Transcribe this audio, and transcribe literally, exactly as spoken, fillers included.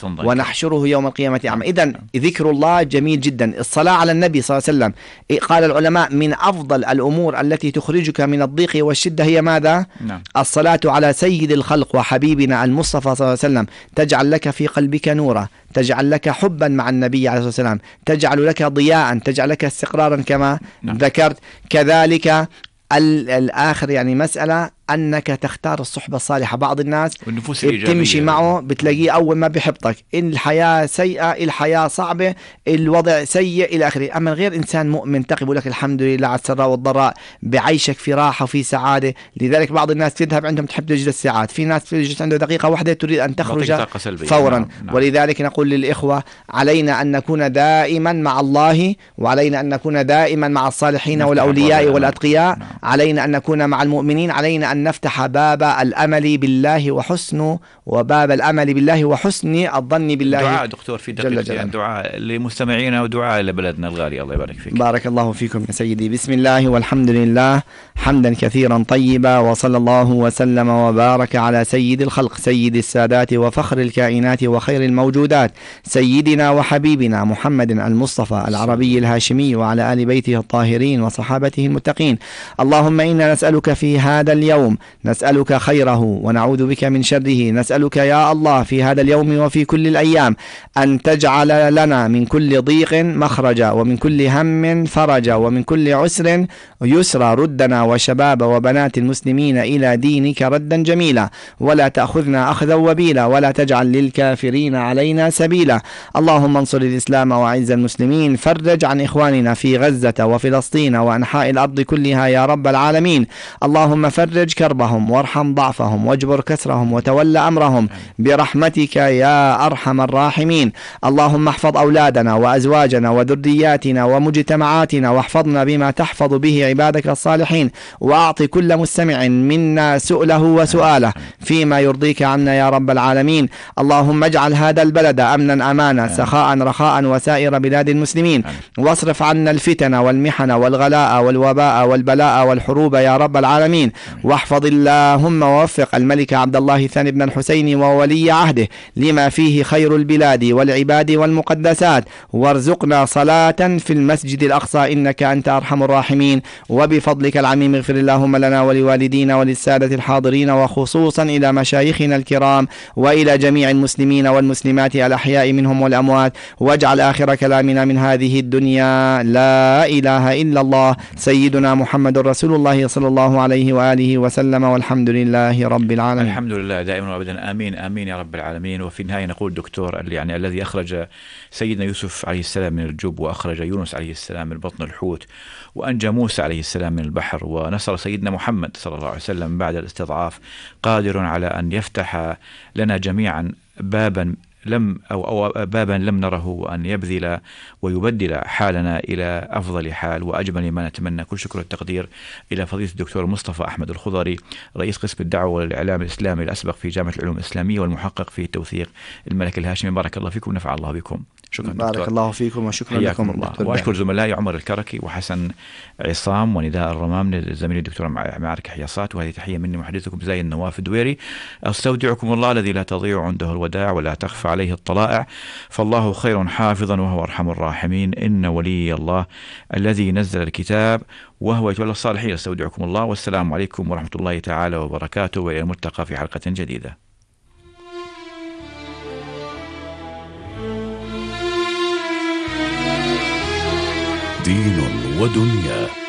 ونحشره يوم القيامة أعمى. إذن ذكر الله جميل جدا. الصلاة على النبي صلى الله عليه وسلم، قال العلماء من أفضل الأمور التي تخرجك من الضيق والشدة هي ماذا؟ نعم. الصلاة على سيد الخلق وحبيبنا المصطفى صلى الله عليه وسلم، تجعل لك في قلبك نورا، تجعل لك حبا مع النبي عليه الصلاة والسلام، تجعل لك ضياء، تجعل لك استقرارا كما نعم. ذكرت. كذلك الآخر يعني مسألة أنك تختار الصحبة الصالحة. بعض الناس بتمشي معه بتلاقيه أول ما بيحبطك، إن الحياة سيئة، الحياة صعبة، الوضع سيء إلى آخره. أما غير إنسان مؤمن تقي بيقول لك الحمد لله على السراء والضراء، بعيشك في راحة وفي سعادة. لذلك بعض الناس تذهب عندهم تحب تجلس ساعات، في ناس تجلس عنده دقيقة واحدة تريد أن تخرج فورا. نعم. نعم. ولذلك نقول للإخوة علينا أن نكون دائما مع الله، وعلينا أن نكون دائما مع الصالحين والأولياء والأتقياء. نعم. علينا أن نكون مع المؤمنين، علينا أن نفتح باب الأمل بالله وحسن وباب الأمل بالله وحسن الظن بالله. دعاء دكتور في دقيقتين، دعاء لمستمعينا ودعاء لبلدنا الغالي. الله يبارك فيك. بارك الله فيكم يا سيدي. بسم الله والحمد لله حمدا كثيرا طيبا، وصلى الله وسلم وبارك على سيد الخلق سيد السادات وفخر الكائنات وخير الموجودات، سيدنا وحبيبنا محمد المصطفى العربي الهاشمي، وعلى آل بيته الطاهرين وصحابته المتقين. اللهم إنا نسألك في هذا اليوم، نسألك خيره ونعوذ بك من شره. نسألك يا الله في هذا اليوم وفي كل الأيام أن تجعل لنا من كل ضيق مخرجا، ومن كل هم فرجا، ومن كل عسر يسرا. ردنا وشباب وبنات المسلمين إلى دينك ردا جميلا، ولا تأخذنا أخذا وبيلا، ولا تجعل للكافرين علينا سبيلا. اللهم انصر الإسلام وأعز المسلمين، فرج عن إخواننا في غزة وفلسطين وأنحاء الأرض كلها يا رب العالمين. اللهم فرج كربهم وارحم ضعفهم واجبر كسرهم وتولى أمرهم برحمتك يا أرحم الراحمين. اللهم احفظ أولادنا وأزواجنا وذرياتنا ومجتمعاتنا، واحفظنا بما تحفظ به عبادك الصالحين، وأعطي كل مستمع منا سؤله وسؤاله فيما يرضيك عنا يا رب العالمين. اللهم اجعل هذا البلد أمنا أمانا سخاء رخاء وسائر بلاد المسلمين، واصرف عنا الفتن والمحن والغلاء والوباء والبلاء والحروب يا رب العالمين. واحفظ اللهم ووفق الملك عبد الله الثاني بن الحسين وولي عهده لما فيه خير البلاد والعباد والمقدسات، وارزقنا صلاة في المسجد الأقصى إنك أنت أرحم الراحمين. وبفضلك العميم اغفر اللهم لنا ولوالدينا وللسادة الحاضرين، وخصوصا إلى مشايخنا الكرام وإلى جميع المسلمين والمسلمات الأحياء منهم والأموات. واجعل آخر كلامنا من هذه الدنيا لا إله إلا الله سيدنا محمد رسول الله صلى الله عليه وآله وسلم، والحمد لله رب العالمين. الحمد لله دائما وابدا، آمين آمين يا رب العالمين. وفي النهاية نقول دكتور يعني الذي أخرج سيدنا يوسف عليه السلام من الجب، وأخرج يونس عليه السلام من بطن الحوت، وأنجى موسى عليه السلام من البحر، ونصر سيدنا محمد صلى الله عليه وسلم بعد الاستضعاف، قادر على أن يفتح لنا جميعا بابا لم أو, أو بابا لم نره، وأن يبذل ويبدل حالنا إلى أفضل حال وأجمل ما نتمنى. كل شكر والتقدير إلى فضيلة الدكتور مصطفى أحمد الخضري، رئيس قسم الدعوة والإعلام الإسلامي الأسبق في جامعة العلوم الإسلامية، والمحقق في توثيق الملك الهاشمي. بارك الله فيكم ونفع الله بكم. شكرا بارك دكتور. الله فيكم وشكرا لكم الله. وأشكر زملائي عمر الكركي وحسن عصام ونداء الرمام، زميلي الدكتور معارك حياصات. وهذه تحية مني محدثكم زي النواف الدويري. أستودعكم الله الذي لا تضيع عنده الوداع ولا تخفى عليه الطلائع، فالله خير حافظا وهو أرحم الراحمين. إن ولي الله الذي نزل الكتاب وهو يتولى الصالحين. أستودعكم الله، والسلام عليكم ورحمة الله تعالى وبركاته، وإلى الملتقى في حلقة جديدة. دين ودنيا.